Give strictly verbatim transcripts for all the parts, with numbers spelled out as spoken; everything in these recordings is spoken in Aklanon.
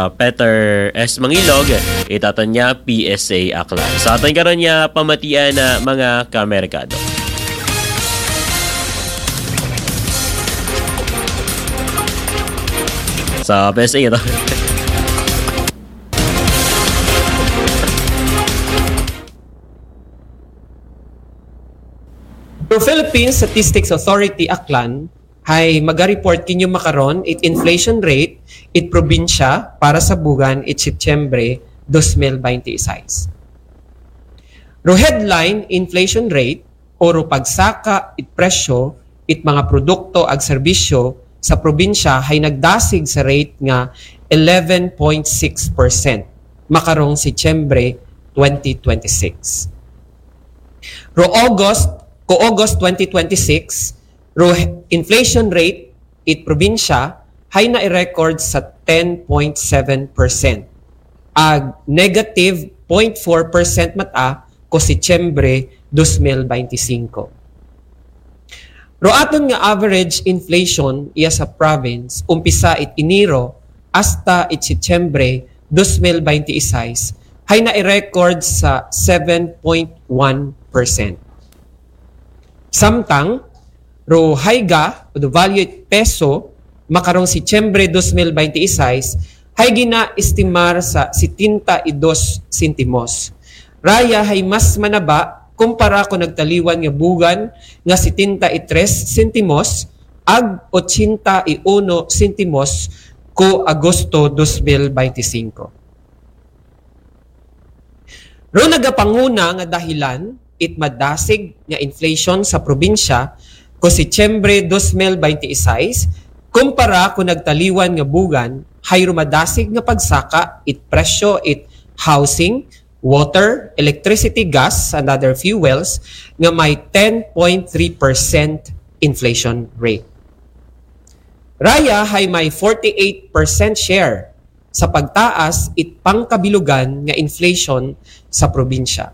Peter S. Mangilog, it aton nga P S A Aklan. Sa aton karon nga pamatian na mga kamerkado. Sa P S A ito. Philippine Statistics Authority Aklan hay maga-report kinyo makaron it inflation rate it probinsya para sa bugan it Setyembre dos mil baynte y seis. Ro headline inflation rate o ro pagsaka it presyo it mga produkto ag serbisyo sa probinsya hay nagdasig sa rate nga eleven point six percent makarong Setyembre twenty twenty-six. Ro August, ko August twenty twenty-six, ro inflation rate it probinsya hay na-record sa ten point seven percent. Ag negative point four percent mata ko Setyembre dos mil baynte singko. Ro aton nga average inflation iya sa province, umpisa it Enero hasta it Setyembre dos mil baynte y seis, hay na-record sa seven point one percent. Samtang, ro haiga o do value it peso makarong Setyembre dos mil baynte y seis, hay gina-estimar sa setenta y dos sentimos. Raya hay mas manaba kumpara ko nagtaliwan nga bugan nga setenta y tres sentimos ag ochenta y uno sentimos ko Agosto dos mil baynte singko. Ro nagapanguna nga dahilan it madasig nga inflation sa probinsya ko Setyembre dos mil baynte y seis kumpara ko nagtaliwan nga bugan hay ro madasig nga pagsaka it presyo it housing, water, electricity, gas, and other fuels nga may ten point three percent inflation rate. Raya hay may forty-eight percent share sa pagtaas it pangkabilugan nga inflation sa probinsya.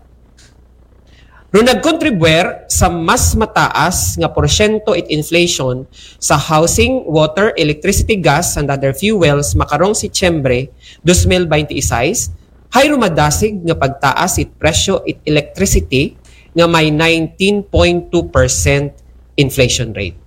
Ro nagkontribwer sa mas mataas nga porsyento it inflation sa housing, water, electricity, gas, and other fuels makarong Setyembre dos mil baynte y seis, hay ro madasig nga pagtaas it presyo it electricity nga may nineteen point two percent inflation rate.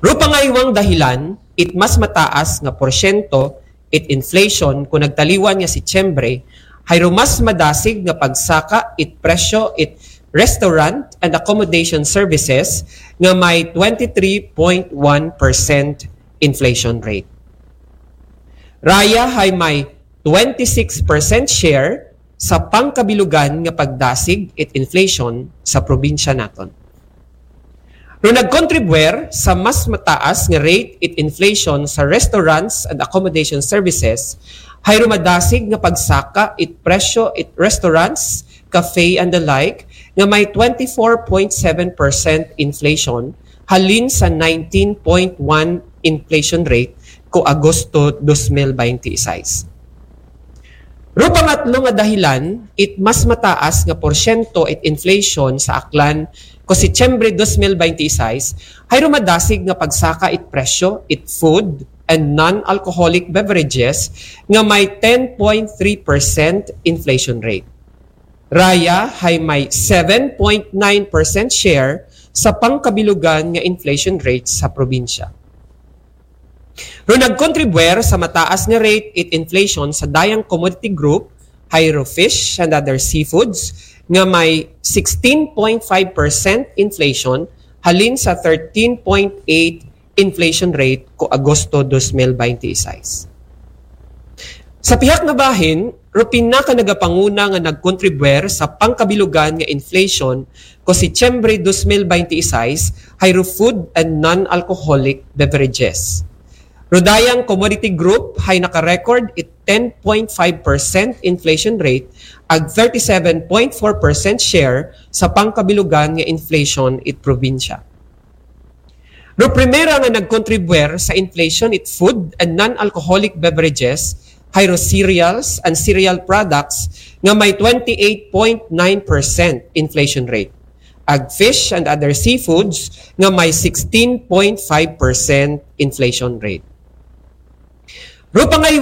Ro pangaywang dahilan it mas mataas nga porsyento it inflation ko nagtaliwan nga Setyembre, hay ro mas madasig nga pagsaka it presyo it restaurant and accommodation services nga may twenty-three point one percent inflation rate. Raya hay may twenty-six percent share sa pangkabilugan nga pagdasig it inflation sa probinsya naton. Ro nagkontribwer sa mas mataas nga rate it inflation sa restaurants and accommodation services, hay ro madasig nga pagsaka it presyo it restaurants, cafe and the like nga may twenty-four point seven percent inflation halin sa nineteen point one inflation rate ko Agosto dos mil baynte y seis. Ro pangatlo nga dahilan it mas mataas nga porsyento it inflation sa Aklan ko Setyembre dos mil baynte y seis hay ro madasig nga pagsaka it presyo it food and non-alcoholic beverages nga may ten point three percent inflation rate. Raya hay may seven point nine percent share sa pangkabilugan nga inflation rate sa probinsya. Ro nagkontribwer sa mataas nga rate it inflation sa dayang commodity group hay ro fish and other seafoods nga may sixteen point five percent inflation halin sa thirteen point eight inflation rate ko Agosto dos mil baynte y seis. Sa pihak nga bahin, ro pinakanagapanguna nga nagkontribwer sa pangkabilugan nga inflation ko Setyembre dos mil baynte y seis hay ro food and non-alcoholic beverages. Ro dayang commodity group hay naka-record it ten point five percent inflation rate ag thirty-seven point four percent share sa pangkabilugan nga inflation it probinsya. Ro primera nga nagkontribwer sa inflation it food and non-alcoholic beverages hay ro cereals and cereal products nga may twenty-eight point nine percent inflation rate. Ag fish and other seafoods nga may sixteen point five percent inflation rate. Rupa nga iwa